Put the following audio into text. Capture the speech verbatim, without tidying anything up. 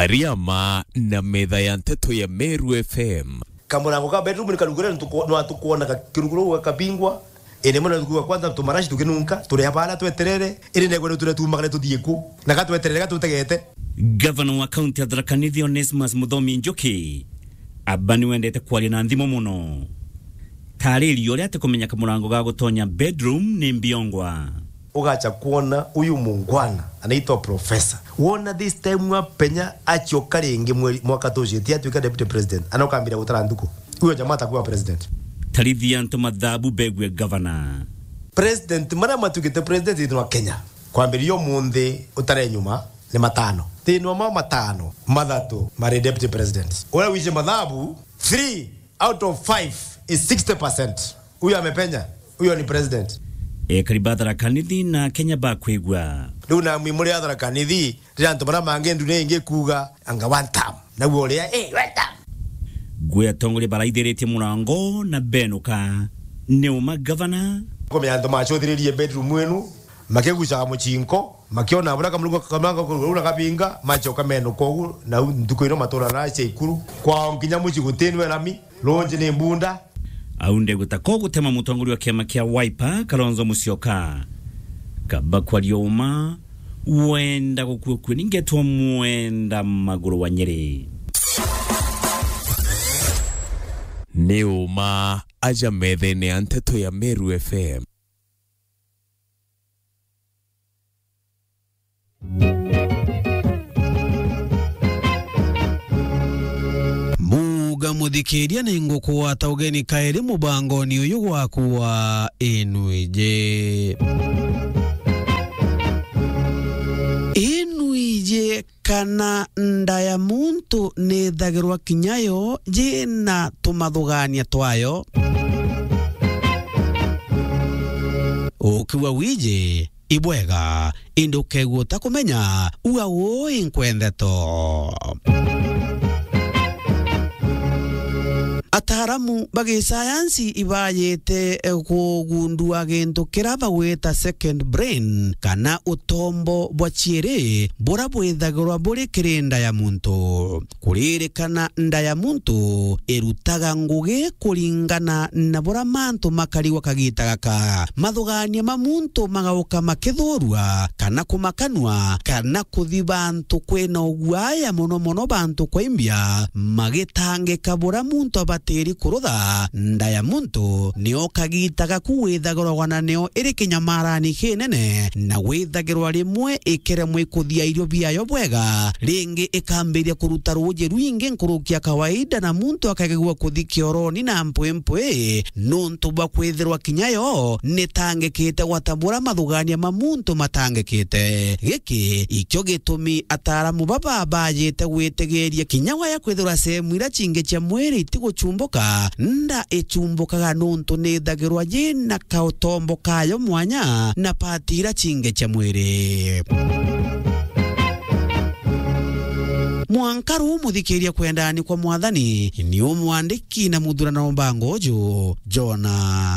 Riama na metha ya nteto ya Meru F M. Kamurango ka bedroom ni karugure, nwa tukwona kiruguru gakabingwa. Ene mwana tukuwa kwanza tumarashi tukinunka, turi abana tweterere, iri negwe ni turia tumagare tuthie ku, na gatweterere gatutegete. Gavana wa kaunti ya Tharaka Nithi Onesmus Muthomi Njuki, aba ni wendete kwaria na nthimo muno. Taariria uria atikumenya kamurango ga gutonya bedroom ni mbiongwa. Ugacha kuona huyu mungwana anaitwa professor. Wona this time wa penya achioka ringi mweri, mwaka tucite atuika deputy president. Anokambira gutara ntuku. Huyo jamaa atakuwa president. Tarithia antu mathabu begue gavana. President, maria matuikite president thiini wa Kenya, kwambiria umunthi utare nyuma, ni matano. Thiini wa mao matano, mathatu mari deputy president. Uria wije mathabu, three out of five is sixty percent. Huyo amepenya, huyo ni president. Ekari ba Tharaka Nithi na Kenya bakwigua. Riu namwi muri a Tharaka Nithi, riria antu baria mangi ndune ingi kuuga, anga one term. Naguo uria, eh, one term. Ngui atongoria baraithiritie murango na benuka. Ni uma gavana. Kumenya antu macuthiririe bedroom inu, makigucaga mucinko, makiona buria kamurungu kamurungu kau na kabinga, macoka menuka ugu, na u ntuku ino matura na cia ikuru. Kwao nginya muci gutinwe rami, runji ni mbunda. Au ndegwita ko gutema mutongoria wa kiama kia Wiper, Kalonzo Musyoka. Kaba kwaria uma, wenda gukua kue, ningetwa mwenda maguru wa Nyeri. Ni uma aja methene ya nteto ya Meru F M. Muga muthikiria, ni ngukugwata ugeni kairi mubangoni uyu gwaku wa Inwiji. Inwiji kana nda ya muntu nithagirwa kinya yo yina tumathugania twayo. Ukiuga wiji, ibwega, indi ukegua utakumenya, uga uu inkwendeto. Ataaramu ba gisayansi ibaajite, eh, kugundua gintu kiria bagwita second brain, kana utombo bwa ciiri, buria bwithagirwa buri kiri nda ya muntu. Kuririkana, nda ya muntu irutaga ngugi kuringana na buria mantu makarigwa kagiita gaka. Mathugania ma muntu magauka makithurua, kana kumakanua, kana kuthi bantu kwina uguaya mono mono bantu kwaimbia, magitangika buria muntu abatiri kurutha. Nda ya muntu nio kagiita gaku withagirwa wana nio iri kinyamarani kinene, na withagirwa rimwe ikeremwe ikuthia irio biayo bwega, ringi ikambiria kuruta ruuji rwingi nkuruki ya kawaida, na muntu akagegua kuthi kioroni na mpwimpwi, nuntu bwa kwithirwa kinya yo nitangikite gwata buria mathugania ma muntu matangikite. Giki ikio gitumi ataaramu baba baajite gwitigiria kinya waya kwithirwa sehemu iria cingi cia mwiri itiguchumbuka, nda ichumbukaga nuntu nithagirwa yina kaotombo kayo mwanya na pati iria cingi cia mwiri. Mwanka ruu muthikiria kwendani kwa Mwathani, ni umwandiki na muthurano mbango uju, Jona.